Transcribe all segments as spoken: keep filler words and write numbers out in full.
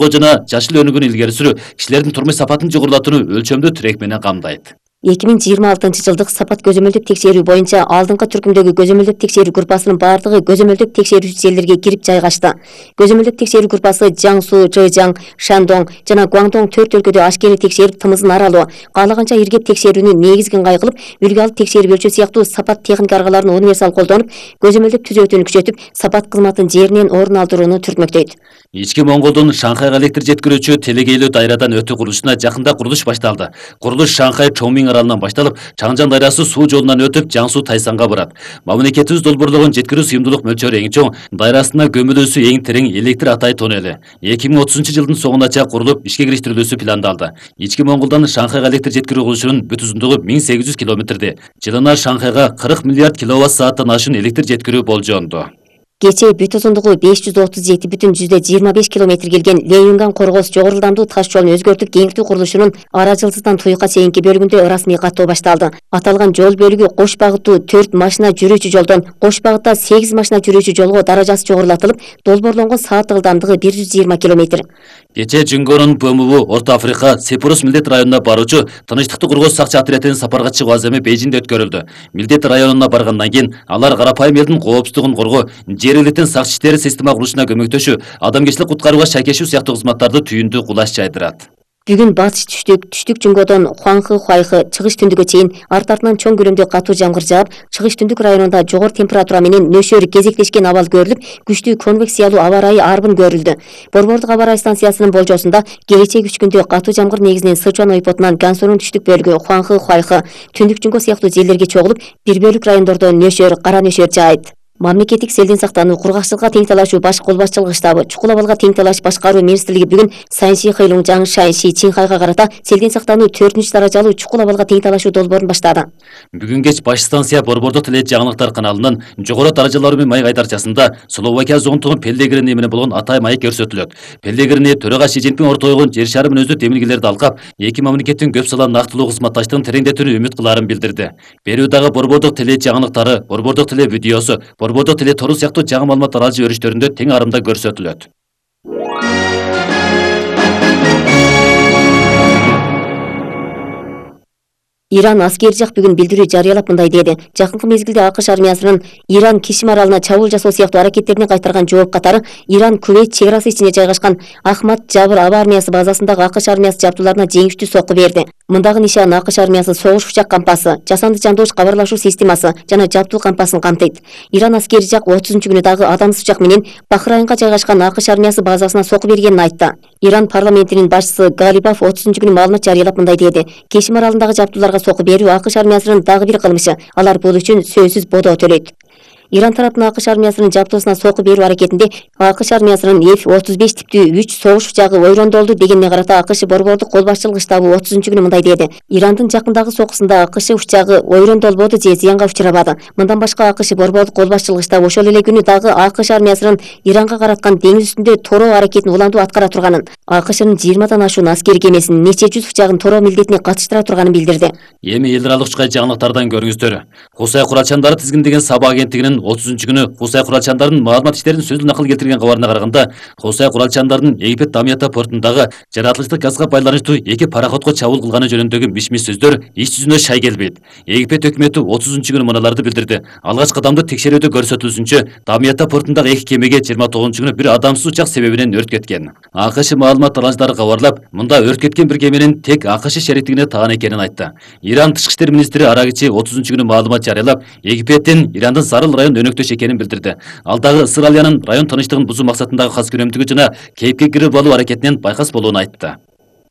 жана жашыл өнүгүүнү илгери сүрүү кишилердин турмуш сапатын жогорулатууну өлчөмдүү тирек менен камдайт. эки миң жыйырма алтынчы жылдык сапат көзөмөлдүк текшерүү боюнча алдыңкы түркүмдөгү көзөмөлдүк текшерүү группасынын бардыгы көзөмөлдүк текшерүүчү жерлерге кирип жайгашты. Көзөмөлдүк текшерүү группасы Жаңсу, Жэжаң, Шандong жана Гуаңдоң төрт өлкөдө ашкере текшерип тымызын аралоо, каалаганча иргеп текшерүүнү негизги ыңгай кылып, үлгү алып текшерип өлчөө сыяктуу сапат техника аргаларын универсал колдонуп, көзөмөлдүк түзөтүүнү күчөтүп, сапат кызматын жеринен орун алдырууну түртмөктөйт. Ички Монголдун Шанхайга электр жеткирүүчү телегейлүү дайрадан өтүү курулушуна жакында курулуш башталды. Курулуш Шанхай Чоңмиң аралынан башталып, Чаңжан дайрасы суу жолунан өтүп, Жаңсу Тайсанга барат. Мамлекетибиз долбоорлогон жеткирүү сыйымдуулук мөлчөрү эң чоң, дайрасына көмүлүүсү эң терең электр Атай тоннели. эки миң отузунчу жылдын соңуна чейин курулуп, ишке кириштирилүүсү пландалды. Ички Монголдон Шанхайга электр жеткирүү курулушунун бүт узундугу миң сегиз жүз километрди. Жылына Шанхайга кырк миллиард киловатт сааттан ашуун электр жеткирүү болжоонду. Кечээ бүт узундугу беш жүз отуз жети бүтүн жүздөн жыйырма беш километр келген Леюнган Коргоз жогору ылдамдуу таш жолун өзгөртүп кеңиртүү курулушунун Ара жылдыздан Туйукка чейинки бөлүгүндө расмий каттоо башталды. Аталган жол бөлүгү кош багыттуу төрт машина жүрүүчү жолдон кош багытта сегиз машина жүрүүчү жолго даражасы жогорулатылып, долбоорлонгон сааттык ылдамдыгы бир жүз жыйырма километр. Кечээ Жүнгөрүн Б М В Орто Африка Сепурус милдет районуна баруучу Тынычтыкты коргоо сакчы отрядынын сапарга чыгуу аземи Бейжиңде өткөрүлдү. Милдет районуна баргандан кийин алар карапайым элдин коопсуздугун коргоо, жер элитин сакчы иштери система курулушуна көмөктөшүү, адамгерчилик куткарууга шайкешүү сыяктуу кызматтарды түйүндүү кулаш жайдырат. Бүгүн батыш түштүк, түштүк Жүнгөдөн Хуаңхы Хуайхы чыгыш түндүккө чейин арт артынан чоң көлөмдө катуу жамгыр жаап, чыгыш түндүк районунда жогору температура менен нөшөр кезектешкен абал көрүлүп, күчтүү конвекциялуу аба ырайы арбын көрүлдү. Борбордук аба ырайы станциясынын болжосунда келечек үч күндө катуу жамгыр негизинен Сычуан ойпотунан Гансунун түштүк бөлүгү Хуаңхы Хуайхы, түндүк Жүнгө сыяктуу жерлерге чогулуп, бир бөлүк райондордо нөшөр, кара нөшөр жаайт. Мамлекеттик селден сактануу, кургакчылыкка тең талашуу баш кол башчылыгы штабы, чукул абалга тең талаш башкаруу министрлиги бүгүн Санши Хэйлуңжаң Шанши Чинхайга карата селден сактануу төртүнчү даражалуу чукул абалга тең талашуу долбоорун баштады. Бүгүн кеч баш станция Борбордук Теле жаңылыктар каналынын жогору даражалары менен майга айдарчасында Словакия зонтугун Пеллегрини менен болгон Атай майы көрсөтүлөт. Пеллегрини төрага Си Цзиньпин ортойгон жер шары мүнөздүү демилгелерди алкап, эки мамлекеттин көп сала нактылуу кызматташтыгын тереңдетүүнү үмүт кылаарын билдирди. Берүүдагы Борбордук Теле жаңылыктары, Борбордук Теле видеосу, Борбордук Теле тору сыяктуу жаңы маалыматтар алжы өрүштөрүндө тең арымда көрсөтүлөт. Иран аскери жак бүгүн билдирүү жарыялап мындай деди. Жакынкы мезгилде АКШ армиясынын Иран Кишим аралына чабуул жасоо сыяктуу аракеттерине кайтарган жооп катары Иран Кувейт чек арасы ичинде жайгашкан Ахмад Жабыр аба армиясы базасындагы АКШ армиясы жабдууларына жеңиштүү сокку берди. Мындагы нишан АКШ армиясы согуш учак кампасы, жасанды жандоош кабарлашуу системасы жана жабдуу кампасын камтыйт. Иран аскери жак отузунчу күнү дагы адамсыз учак менен Бахрайнга жайгашкан АКШ армиясы базасына сокку бергенин айтты. Иран парламентинин башчысы Галибаф отузунчу күнү маалымат жарыялап мындай деди. Кешим аралындагы жабдууларга сокку берүү АКШ армиясынын дагы бир кылмышы. Алар бул үчүн сөзсүз бодо төлөйт. Иран тарапынан АКШ армиясынын жабдуусуна сокку берүү аракетинде АКШ армиясынын Эф отуз беш типтүү үч согуш учагы ойрондолду дегенине карата АКШ борбордук кол башчылыгы штабы отузунчу күнү мындай деди. Ирандын жакындагы сокусунда АКШ учагы ойрондолбоду же зыянга учурабады. Мындан башка АКШ борбордук кол башчылыгы штабы ошол эле күнү дагы АКШ армиясынын Иранга караткан деңиз үстүндө тороо аракетин уландуу аткара турганын, АКШнын жыйырмадан ашуун аскери кемесинин нече жүз учагын тороо милдетине катыштыра турганын билдирди. Эми эл аралык учкай жаңылыктардан көрүңүздөр. Кусай куралчандары тизгиндеген Саба агенттигинин отузунчу күнү Кусай куралчандардын маалымат иштерин сөзсүз накыл келтирген кабарына караганда, Кусай куралчандардын Египет Дамията портундагы жаратылыштык газга байланыштуу эки пароходго чабуул кылганы жөнүндөгү миш-миш сөздөр иш жүзүнө шай келбейт. Египет өкмөтү отузунчу күнү мыналарды билдирди. Алгач кадамды текшерүүдө көрсөтүлүшүнчө, Дамията портундагы эки кемеге жыйырма тогузунчу күнү бир адамсыз учак себебинен өрт кеткен. АКШ маалымат аланчылары кабарлап, мында өрт кеткен бир кеменин тек АКШ шериктигине таан экенин айтты. Иран тышкы иштер министри Арагичи отузунчу күнү маалымат жарыялап, Египеттин Ирандын Сарыл район өнөктөш экенин билдирди. Ал дагы Ысыралиянын район тынычтыгын бузуу максатындагы кас күнөмдүгү жана кейипке кирип алуу аракетинен байкас болуун айтты.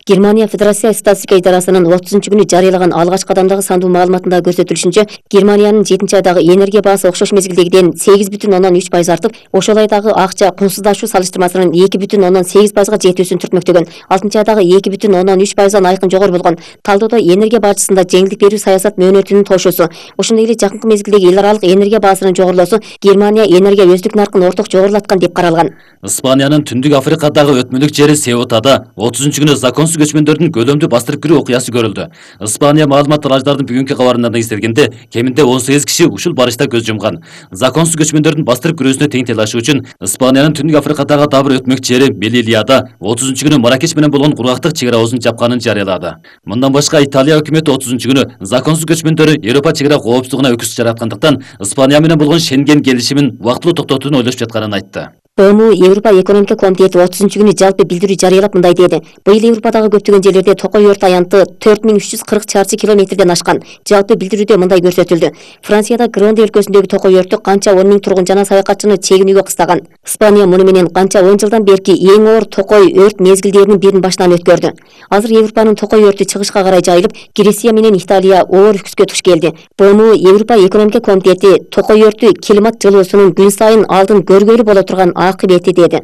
Германия Федерация статистика идарасынын отузунчу күнү жарыялаган алгач кадамдагы сандуу маалыматында көрсөтүлүшүнчө, Германиянын жетинчи айдагы энергия баасы окшош мезгилдегиден сегиз бүтүн ондон үч пайыз артып, ошол айдагы акча кунсуздашуу салыштырмасынын эки бүтүн ондон сегиз пайызга жетүүсүн түртмөктөгөн. алтынчы айдагы эки бүтүн ондон үч пайыздан айкын жогору болгон. Талдоодо энергия бажысында жеңилдик берүү саясат мөөнөтүнүн тошуусу, ошондой эле жакынкы мезгилдеги эл аралык энергия баасынын жогорулоосу Германия энергия өздүк наркын орток жогорулаткан деп каралган. Испаниянын Түндүк Африкадагы өтмөлүк жери Сеутада отузунчу күнү законсуз көчмөндөрдүн көлөмдүү бастырып кирүү окуясы көрүлдү. Испания маалыматтар аждардын бүгүнкү кабарында эстелгенде кеминде он сегиз киши ушул барышта көз жумган. Законсуз көчмөндөрдүн бастырып кирүүсүнө тең талашы үчүн Испаниянын Түндүк Африкадагы дагы бир өтмөкчү жери Мелилияда отузунчу күнү Маракеш менен болгон кургактык чек ара оозун жапканын жарыялады. Мындан башка Италия өкмөтү отузунчу күнү законсуз көчмөндөрү Европа чек ара коопсуздугуна өкүс жараткандыктан Испания менен болгон Шенген келишимин убактылуу токтотууну ойлошуп жатканын айтты. БМУ Европа экономика комитети отузунчу күнү жалпы билдирүү жарыялап мындай деди. Быйыл Европадагы көптөгөн жерлерде токой өрт аянты төрт миң үч жүз кырк чарчы километрден ашкан. Жалпы билдирүүдө мындай көрсөтүлдү. Францияда Гранде өлкөсүндөгү токой өртү канча он миң тургун жана саякатчыны чегинүүгө кыстаган. Испания муну менен канча он жылдан берки эң оор токой өрт мезгилдеринин бирин башынан өткөрдү. Азыр Европанын токой өртү чыгышка карай жайылып, Греция менен Италия оор үкүскө туш келди. БМУ Европа экономика комитети токой өртү климат жылуусунун күн сайын алдын көргөлү боло турган акыбети деди.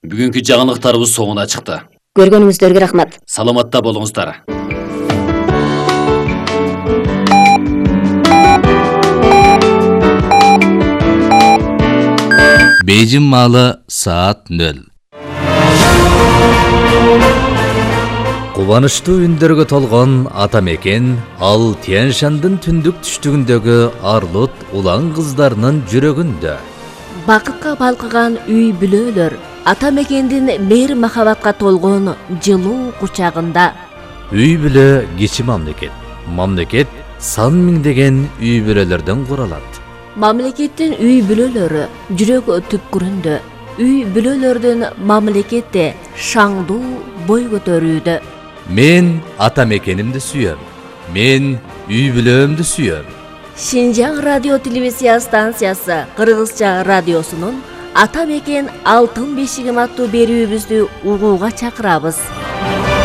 Бүгүнкү жаңылыктарыбыз соңуна чыкты. Көргөнүңүздөргө рахмат. Саламатта болуңуздар. Бейжин маалы саат нөл. Кубанычтуу үндөргө толгон ата мекен ал Тянь-Шандын түндүк түштүгүндөгү арлут улан кыздарынын жүрөгүндө. Бакытка балкыган үй бүлөлөр ата мекендин мейир махабатка толгон жылуу кучагында. Үй бүлө кичи мамлекет. Мамлекет сан миңдеген үй бүлөлөрдөн куралат. Мамлекеттин үй бүлөлөрү жүрөк түпкүрүндө. Үй бүлөлөрдүн мамлекетте шаңдуу бой көтөрүүдө. Мен ата мекенимди сүйөм. Мен үй бүлөмдү сүйөм. Шинжаң радио телевизия станциясы Кыргызча радиосунун Ата мекен алтын бешигим аттуу берүүбүздү угууга чакырабыз.